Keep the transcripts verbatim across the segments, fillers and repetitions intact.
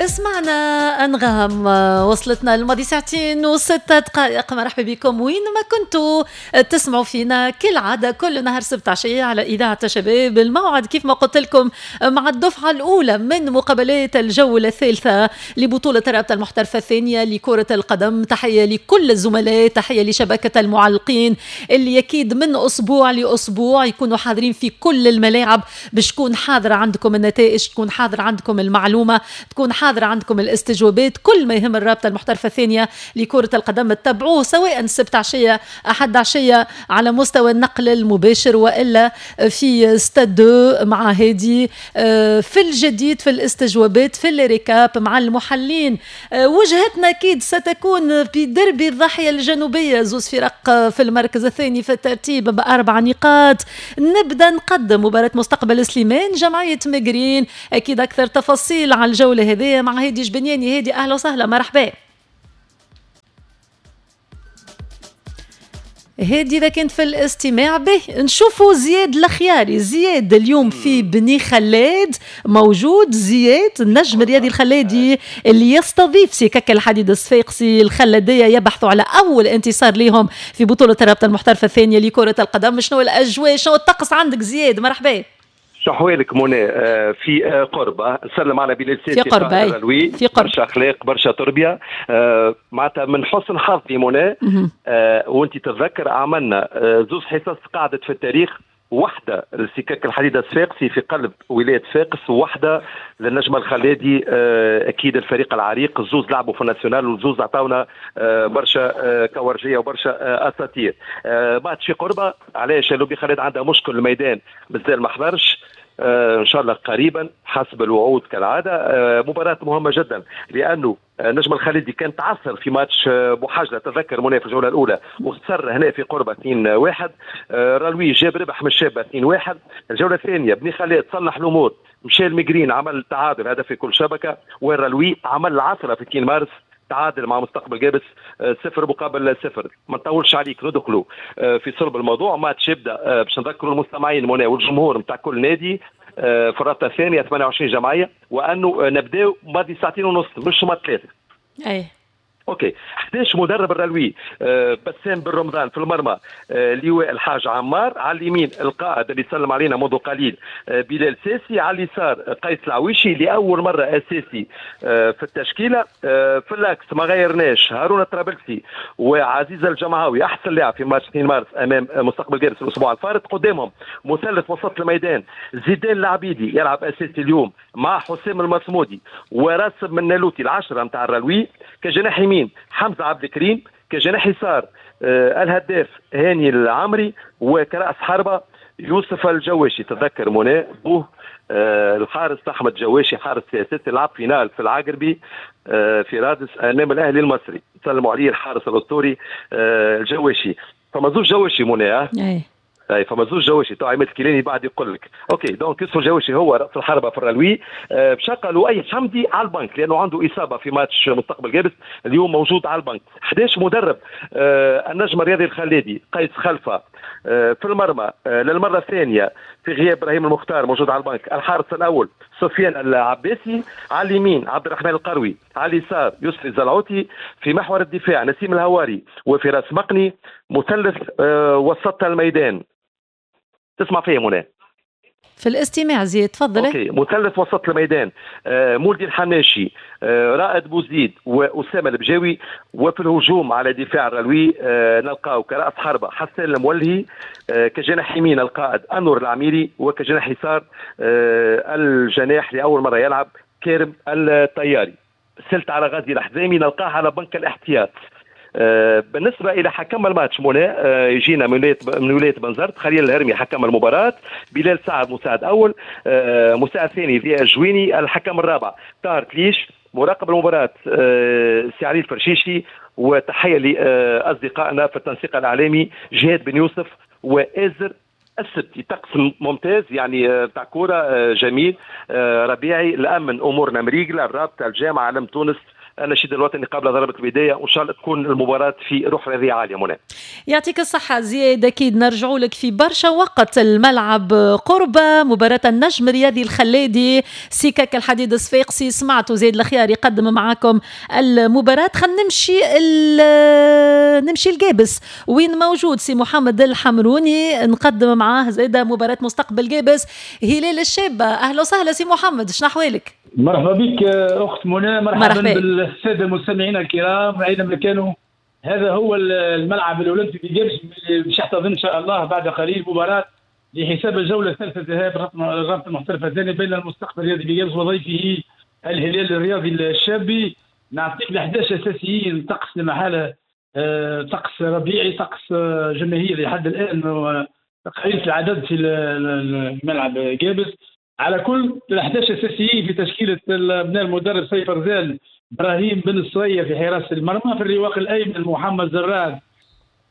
اسمعنا أنغام، وصلتنا الماضي ساعتين وستة دقائق. مرحبا بكم وين ما كنتوا تسمعوا فينا كالعادة كل نهار سبت عشية على إذاعة شباب. الموعد كيف ما قلت لكم مع الدفعة الأولى من مقابلات الجولة الثالثة لبطولة الرابطة المحترفة الثانية لكرة القدم. تحية لكل الزملاء، تحية لشبكة المعلقين اللي أكيد من أسبوع لأسبوع يكونوا حاضرين في كل الملاعب باش تكون حاضرة عندكم النتائج، تكون حاضرة عندكم المعلومة، تكون حاضرة عندكم الاستجوابات، كل ما يهم الرابطة المحترفة الثانية لكرة القدم تتبعوه سواء السبت عشية أحد عشية على مستوى النقل المباشر وإلا في ستاد مع هادي في الجديد في الاستجوابات في ال récap مع المحللين. وجهتنا أكيد ستكون في دربي الضاحية الجنوبية، زوز فرق في المركز الثاني في الترتيب بأربع نقاط. نبدأ نقدم مباراة مستقبل سليمان جمعية مقرين، أكيد أكثر تفاصيل على الجولة هذه مع هادي جبنياني. هادي أهلا وسهلا، مرحبا هادي. إذا كنت في الاستماع به نشوفوا زياد الخياري. زياد اليوم في بني خلاد موجود. زياد النجم الرياضي الخلادي اللي يستضيف سكك الحديد الصفاقسي الخلادية، يبحثوا على أول انتصار لهم في بطولة الرابطة المحترفة الثانية لكرة القدم. شنو الأجواء، شنو الطقس عندك زياد؟ مرحبا. شو احوالك منى؟ في قربة نسلم على بلال ساسي في قربة، في قربة، برشا اخلاق برشا تربيه. معناتها من حسن حظي منى، وانت تتذكر عملنا زوز حصص قعدت في التاريخ، واحدة لسكك الحديد الصفاقسي في قلب ولاية صفاقس، وواحدة للنجم الخلادي اكيد الفريق العريق. الزوز لعبوا في ال national والزوز عطاونا برشا كورجيه وبرشا اساطير. بعد في قربه علاش لوبي خالد عندها مشكل الميدان مازال ما حضرش، ان شاء الله قريبا حسب الوعود كالعادة. مباراة مهمة جدا لانه نجم الخليدي كان تعثر في ماتش بوحجله، تذكر منى في الجولة الاولى وخسر هنا في قربه اثنين واحد. رالوي جاب ربح من الشابة اثنين واحد. الجولة الثانية بني خلاد صلح الامور، مشى المجرين عمل تعادل هدف في كل شبكة، والرالوي عمل العثره في اثنين مارس تعادل مع مستقبل جابس صفر مقابل صفر. ما نطولش عليك ندخلوا في صلب الموضوع. ماتش يبدا باش نذكروا المستمعين منى والجمهور نتاع كل نادي في الرابطة الثانية ثمانية وعشرين جمعية، وانه نبداو ماضي ساعتين ونص مش ماضي ثلاثة. اي OK. احد عشر مدرب الرلوي، أه بسام بن رمضان في المرمى، أه لواء الحاج عمار، على اليمين القائد اللي سلم علينا منذ قليل أه بلال ساسي، على اليسار قيس العويشي لاول مرة اساسي أه في التشكيلة. أه في l'axe ما غيرناش هارون الطرابلسي وعزيز الجمعاوي احسن لاعب في ماتش اثنين مارس امام مستقبل جابس الاسبوع الفارط. قدامهم مثلث وسط الميدان زيدان العبيدي يلعب اساسي اليوم مع حسام المصمودي وراسب من نالوتي العشرة نتاع الرلوي. كجناح يمين حمزة عبد الكريم، كجناح يسار آه الهداف هاني العمري، وكرأس حربه يوسف الجواشي. تذكر منى بوه آه الحارس احمد جواشي حارس سياسي لعب finale في العقربي آه في رادس امام الاهلي المصري، سلموا عليه الحارس الاسطوري آه الجواشي. فما زوج جواشي منى، اي اي فما زوج جواشي تو عماد الكيلاني بعد يقول لك. OK donc يوسف الجواشي هو راس الحربة في الرلوي. أه بشقى لؤي حمدي على البنك لانه عنده اصابه في ماتش مستقبل جابس، اليوم موجود على البنك. احد عشر مدرب أه النجم الرياضي الخلادي قيس خلفه أه في المرمى أه للمرة الثانية في غياب ابراهيم المختار موجود على البنك. الحارس الاول سفيان العباسي، على اليمين عبد الرحمن القروي، على اليسار يسري الزلعوتي، في محور الدفاع نسيم الهواري وفراس مقني، مثلث أه وسط الميدان. تسمع فيا منى؟ في الاستماع زياد تفضل. OK مثلث وسط الميدان آه مولدي الحناشي، آه رائد بوزيد واسامة البجاوي. وفي الهجوم على دفاع الرلوي آه نلقاو كراس حربه حسان المولهي، آه كجناح يمين القائد انور العميري، وكجناح يسار آه الجناح لاول مرة يلعب كارم الطياري. سلت على غازي الحزامي نلقاه على بنك الاحتياط. بالنسبة الى حكم الماتش منى، يجينا من ولاية من ولاية بنزرت خليل الهرمي حكم المباراة، بلال سعد مساعد اول، مساعد ثاني ضياء الجويني، الحكم الرابع طاهر تليش، مراقب المباراة سي علي الفرشيشي، وتحية لاصدقائنا في التنسيق الاعلامي جهاد بن يوسف وازر السبتي. طقس ممتاز يعني تاع كورة جميل ربيعي، الامن امورنا مريقله، الرابطة الجامعة علم تونس النشيد الوطني قبل ضربه البداية، وان شاء الله تكون المباراة في روح رياضية عالية. منى يعطيك الصحة زياد، اكيد نرجعوا لك في برشا وقت. الملعب قربه مباراة النجم الرياضي الخلادي سكك الحديد الصفاقسي، سمعتوا زياد الخيار يقدم معاكم المباراة. خلينا نمشي نمشي لقابس وين موجود سي محمد الحمروني، نقدم معاه زاده مباراة مستقبل قابس هلال الشابة. اهلا وسهلا سي محمد، شنو احوالك؟ مرحبا بك اخت منى، مرحبا, مرحبا بالساده المستمعين الكرام اينما كانوا. هذا هو الملعب الاولمبي في قابس باش يحتضن ان شاء الله بعد قليل مباراة لحساب الجولة الثالثة ذهاب الرابطة المحترفه الثانية بين المستقبل الرياضي بقابس وضيفه الهلال الرياضي الشابي. نعطيك ال احد عشر اساسيين، طقس لمحاله طقس ربيعي، طقس جماهيري لحد الان قليل العدد في الملعب قابس. على كل ال احد عشر اساسيين في تشكيله ابناء المدرب سيف رزال، ابراهيم بن الصغير في حراسة المرمى، في الرواق الايمن محمد زراد،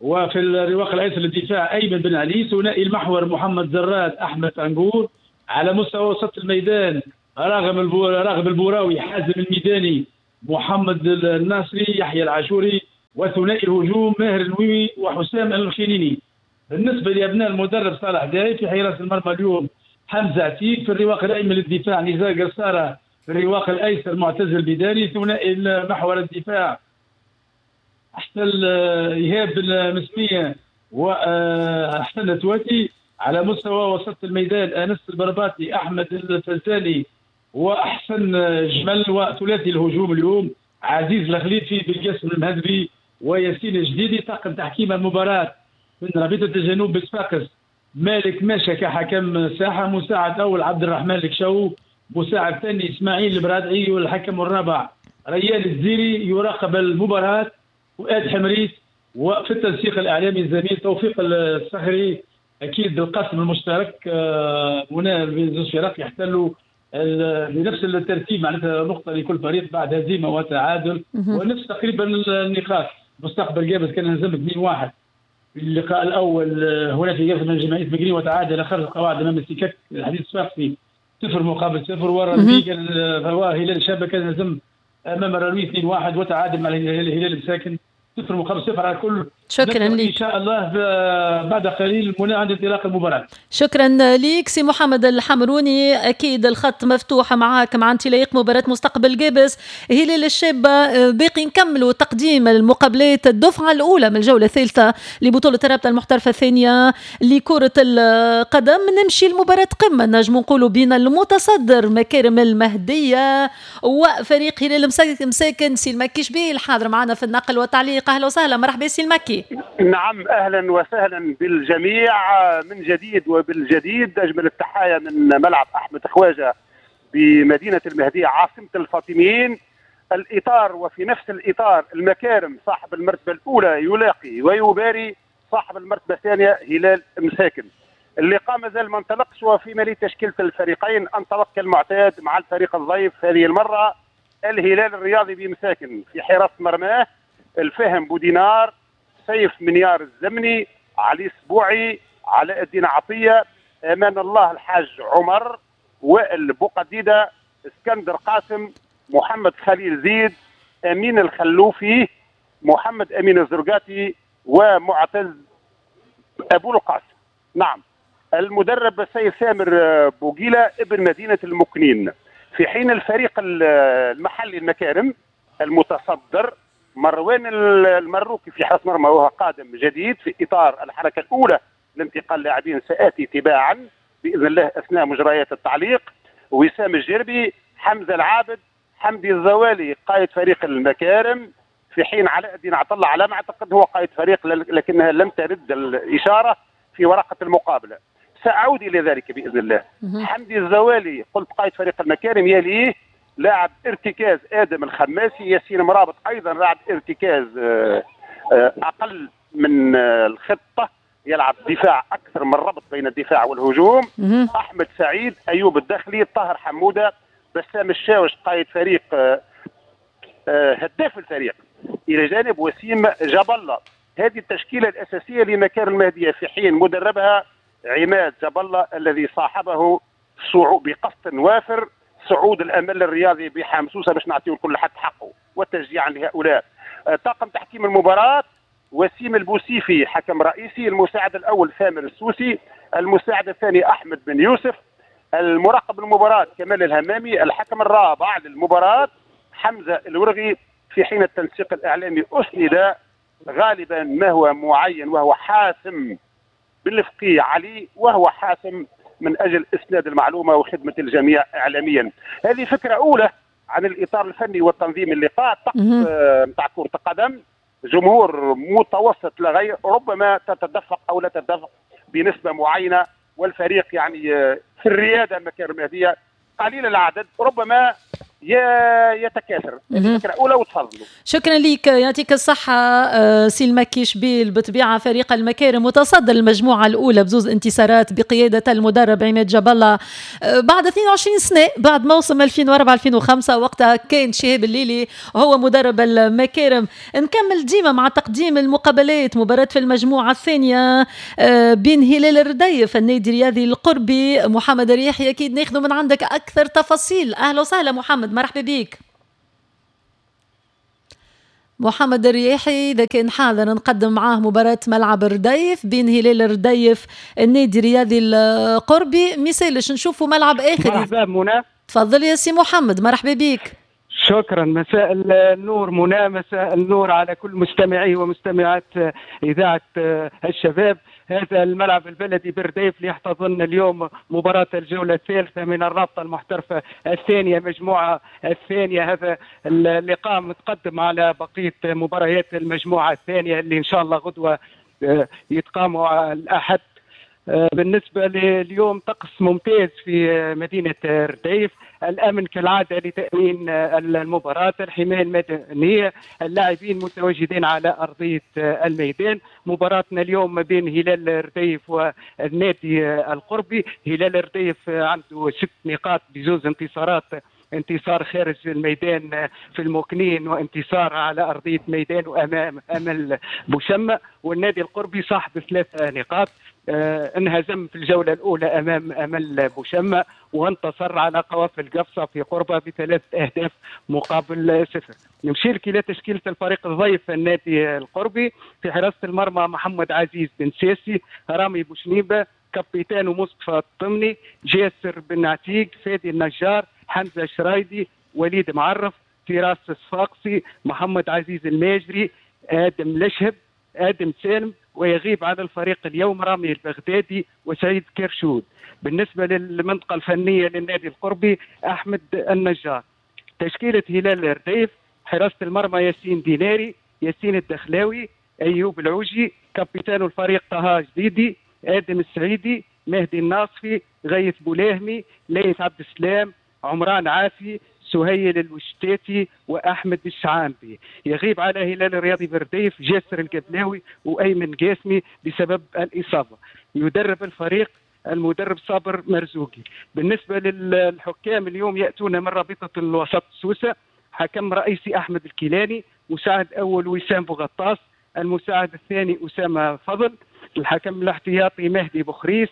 وفي الرواق الايسر للدفاع ايمن بن علي، ثنائي المحور محمد زراد احمد عنقور. على مستوى وسط الميدان راغب راغب البوراوي، حازم الميداني، محمد الناصري، يحيى العاشوري، وثنائي الهجوم ماهر النويوي وحسام الخينيني. بالنسبة لابناء المدرب صالح داي في حراسة المرمى اليوم حمزة عتيق، في الرواق الايمن للدفاع نزار قصاره، في الرواق الايسر معتز البداني، ثنائي محور الدفاع احسن ايهاب بن مسميه واحسن تواتي. على مستوى وسط الميدان انس البرباطي، احمد الفزالي، واحسن جمل. وثلاثي الهجوم اليوم عزيز الخليفي، بالقاسم المهذبي، وياسين الجديدي. طاقم تحكيم المباراة من رابطه الجنوب بصفاقس مالك ماشا كحكم ساحة، مساعد اول عبد الرحمن الكشو، مساعد ثاني اسماعيل البرادعي، والحكم الرابع ريان الزيري. يراقب المباراة فؤاد حمريت، وفي التنسيق الاعلامي الزميل توفيق الصخري. اكيد القسم المشترك هنا زوج فرق يحتلوا بنفس الترتيب، معناتها نقطة لكل فريق بعد هزيمة وتعادل ونفس تقريبا النقاط. مستقبل قابس كان هزم اثنين واحد في اللقاء الاول هنا في قابس من جمعية مقرين، وتعادل خارج القواعد امام السكك الحديد الصفاقسي صفر مقابل صفر. ورا كان هلال الشابة كان هزم امام الراوي اثنين واحد وتعادل مع الهلال المساكن صفر مقابل صفر. على كل شكرا لك، ان شاء الله بعد قليل منى عند انطلاق المباراة. شكرا لك سي محمد الحمروني، اكيد الخط مفتوح معاك مع انطلاق مباراة مستقبل قابس هلال الشابة. باقي نكملوا تقديم المقابلات الدفعة الاولى من الجولة الثالثة لبطولة الرابطة المحترفه الثانية لكرة القدم. نمشي لمباراة قمة نجم نقولوا بين المتصدر مكارم المهدية وفريق هلال مساكن. سي المكي شبيه الحاضر معنا في النقل والتعليق، اهلا وسهلا، مرحبا سي المكي. نعم اهلا وسهلا بالجميع من جديد وبالجديد. اجمل التحايا من ملعب احمد خواجه بمدينة المهدية عاصمة الفاطميين. الاطار وفي نفس الاطار المكارم صاحب المرتبة الاولى يلاقي ويباري صاحب المرتبة الثانية هلال مساكن. اللقاء مازال ما انطلقش، وفي مالي تشكيله الفريقين انطلق كالمعتاد مع الفريق الضيف هذه المرة الهلال الرياضي بمساكن. في حراسة مرماه الفهم بودينار، سيف منيار الزمني، علي سبوعي، علاء الدين عطية، امان الله الحاج عمر، وائل بوقديده، اسكندر قاسم، محمد خليل زيد، امين الخلوفي، محمد امين الزرقاتي، ومعتز ابو القاسم. نعم المدرب السيد سامر بوغيلا ابن مدينة المكنين. في حين الفريق المحلي المكارم المتصدر مروان المروكي في حراسة مرمى وهو قادم جديد في اطار الحركة الاولى لانتقال لاعبين ساتي تباعا باذن الله اثناء مجريات التعليق. وسام الجربي، حمزة العابد، حمدي الزوالي قائد فريق المكارم. في حين علاء الدين عطله على ما اعتقد هو قائد فريق لكنها لم ترد الاشارة في ورقة المقابلة، ساعود الى ذلك باذن الله. حمدي الزوالي قلت قائد فريق المكارم، يليه لاعب ارتكاز ادم الخماسي، ياسين مرابط ايضا لاعب ارتكاز اقل من الخطة، يلعب دفاع اكثر من ربط بين الدفاع والهجوم. احمد سعيد، ايوب الدخلي، طاهر حموده، بسام الشاوش قائد فريق هداف الفريق، الى جانب وسيم جاب الله. هذه التشكيلة الاساسية لمكارم المهدية، في حين مدربها عماد جاب الله الذي صاحبه صعوب بقسط وافر صعود الامل الرياضي بحمسوسه باش نعطيو لكل حد حقه وتشجيعا لهؤلاء. طاقم تحكيم المباراة وسيم البوسيفي حكم رئيسي، المساعد الاول ثامر السوسي، المساعد الثاني احمد بن يوسف، المراقب المباراة كمال الهمامي، الحكم الرابع للمباراة حمزة الورغي، في حين التنسيق الاعلامي اسند غالبا ما هو معين وهو حاسم بالفقيه علي، وهو حاسم من اجل اسناد المعلومة وخدمه الجميع اعلاميا. هذه فكرة اولى عن الاطار الفني والتنظيم اللقاء. طقس نتاع كره القدم، جمهور متوسط لا غير، ربما تتدفق او لا تتدفق بنسبة معينة، والفريق يعني في الرياده مكان المهدية قليل العدد ربما يتكاثر. الفكرة الاولى وتفضلوا. شكرا لك، يعطيك الصحة سي المكي شبيل. بطبيعة فريق المكارم متصدر المجموعة الاولى بزوز انتصارات بقيادة المدرب عماد جاب الله بعد اثنين وعشرين سنة، بعد موسم ألفين وأربعة ألفين وخمسة وقتها كان شهاب الليلي هو مدرب المكارم. نكمل ديما مع تقديم المقابلات. مباراة في المجموعة الثانية بين هلال الرديف النادي الرياضي القربي. محمد الرياحي اكيد ناخذ من عندك اكثر تفاصيل. اهلا وسهلا محمد، مرحبا بك. محمد الرياحي إذا كان حاضر نقدم معاه مباراة ملعب الرديف بين هلال الرديف النادي الرياضي القربي. ميسالش نشوفوا ملعب آخر. مرحبا منى. تفضل يا سي محمد، مرحبا بك. شكرا، مساء النور منى، مساء النور على كل مستمعي ومستمعات إذاعة الشباب. هذا الملعب البلدي برديف ليحتضن اليوم مباراة الجولة الثالثة من الرابطة المحترفة الثانية، مجموعة الثانية. هذا اللقاء متقدم على بقية مباريات المجموعة الثانية اللي إن شاء الله غدوة يتقاموا الأحد. بالنسبة لليوم طقس ممتاز في مدينة رديف، الأمن كالعادة لتأمين المباراة، الحماية المدنية، اللاعبين متواجدين على أرضية الميدان. مباراتنا اليوم ما بين هلال رديف والنادي القربي. هلال رديف عنده ست نقاط بزوز انتصارات، انتصار خارج الميدان في المكنين وانتصار على أرضية ميدان وأمام أمل بوشمة. والنادي القربي صاحب ثلاث نقاط، آه انهزم في الجولة الأولى أمام أمل بوشمة وانتصر على قوافل قفصة في قربة بثلاث أهداف مقابل صفر. نمشي لك إلى تشكيلة الفريق الضيف النادي القربي. في حراسة المرمى محمد عزيز بن ساسي، رامي بوشنيبة، كابيتان مصطفى الطمني، جاسر بن عتيق، فادي النجار، حمزة شرايدي، وليد معرف، فراس الصفاقسي، محمد عزيز الماجري، آدم لشهب، آدم سالم. ويغيب على الفريق اليوم رامي البغدادي وسعيد كرشود. بالنسبة للمنطقة الفنية للنادي القربي أحمد النجار. تشكيلة هلال الرديف: حراسة المرمى ياسين ديناري، ياسين الدخلاوي، أيوب العوجي، كابيتان الفريق طه جديدي، آدم السعيدي، مهدي الناصفي، غيث بولاهمي، ليث عبد السلام، عمران عافي، سهيل الوشتاتي، واحمد الشعامبي. يغيب على هلال الرياضي برديف جاسر القبلاوي وايمن قاسمي بسبب الاصابة. يدرب الفريق المدرب صابر مرزوقي. بالنسبة للحكام اليوم ياتون من رابطه الوسط سوسة، حكم رئيسي احمد الكيلاني، مساعد اول وسام بوغطاس، المساعد الثاني اسامة فضل، الحكم الاحتياطي مهدي بخريس،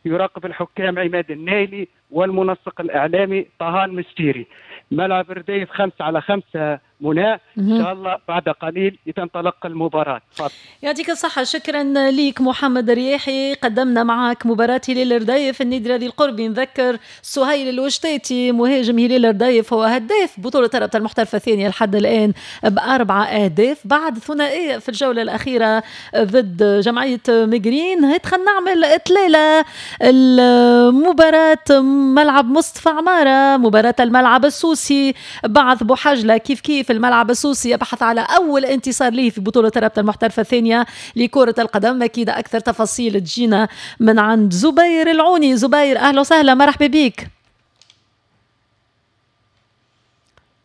يراقب الحكام عماد النايلي، والمنسق الإعلامي طه المستيري. ملعب رديف خمسة على خمسة منى، إن شاء الله بعد قليل تنطلق المباراة. تفضل. يعطيك الصحة، شكرا ليك محمد الرياحي. قدمنا معك مباراة هلال رديف النادي الرياضي القربي. نذكر سهيل الوشتاتي مهاجم هلال رديف هو هداف بطولة الرابطة المحترفة الثانية لحد الآن بأربعة أهداف بعد ثنائية في الجولة الأخيرة ضد جمعية مجرين. هات خلينا نعمل إطلالة المباراة ملعب مصطفى عمارة، مباراة الملعب السوسي بعث بوحجلة كيف كيف. الملعب السوسي يبحث على أول انتصار له في بطولة الرابطة المحترفة الثانية لكرة القدم. أكيد أكثر تفاصيل تجينا من عند زبير العوني. زبير أهلا وسهلا، مرحبا بك.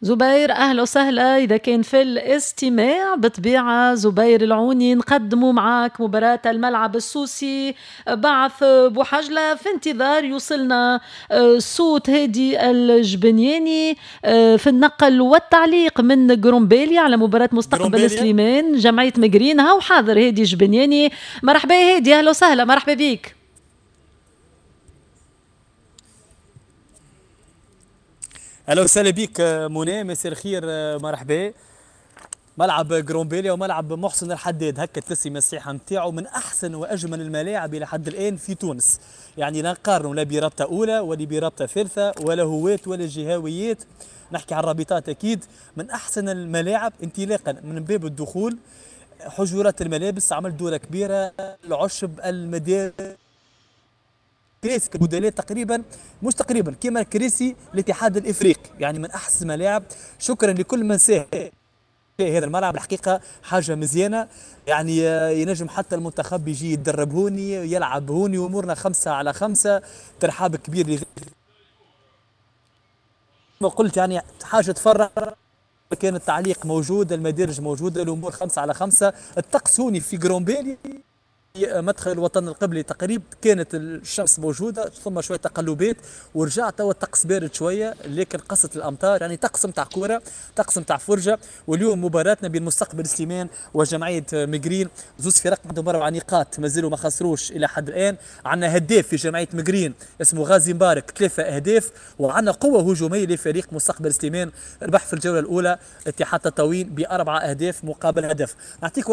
زبير أهلا وسهلا، إذا كان في الاستماع بطبيعة زبير العوني نقدموا معاك مباراة الملعب السوسي بعث بوحجلة. في انتظار يوصلنا صوت هادي الجبنياني في النقل والتعليق من قرمبالية على مباراة مستقبل سليمان جمعية مقرين. هاو حاضر هادي الجبنياني، مرحبا هادي، أهلا وسهلا، مرحبا بك. اهلا وسهلا بك منى، مساء الخير، مرحبا. ملعب قرمبالية وملعب محسن الحداد هكا التسمية الصحيحة نتاعو، من احسن واجمل الملاعب الى حد الان في تونس. يعني لا نقارنوا لا برابطه اولى ولا برابطه ثالثة ولا هواة ولا جهويات، نحكي على الرابطات اكيد. من احسن الملاعب انطلاقا من باب الدخول، حجرات الملابس عمل دوره كبيرة، العشب، المدارج، كراسي بدلاء تقريبا، مش تقريبا، كما كراسي الاتحاد الافريقي، يعني من احسن الملاعب. شكرا لكل من ساهم هذا الملعب، الحقيقة حاجة مزيانه، يعني ينجم حتى المنتخب يجي يتدرب هوني، يلعب هوني، وامورنا خمسة على خمسة. ترحاب كبير ما قلت، يعني حاجة تفرح. كان التعليق موجود، المدارج موجودة، الامور خمسة على خمسة. الطقس هوني في قرمبالية مدخل الوطن القبلي تقريبا كانت الشمس موجودة، ثم شوية تقلبات ورجع توا الطقس بارد شوية، لكن قصت الامطار، يعني طقس نتاع كوره، طقس نتاع فرجه. واليوم مباراتنا بين مستقبل سليمان وجمعية مقرين، زوز فرق عندهم اربع نقاط مازالوا ما خسروش الى حد الان. عندنا هداف في جمعية مقرين اسمه غازي مبارك، ثلاثة اهداف، وعندنا قوة هجومية لفريق مستقبل سليمان، ربح في الجولة الاولى اتحاد تطاوين باربعة اهداف مقابل هدف. نعطيك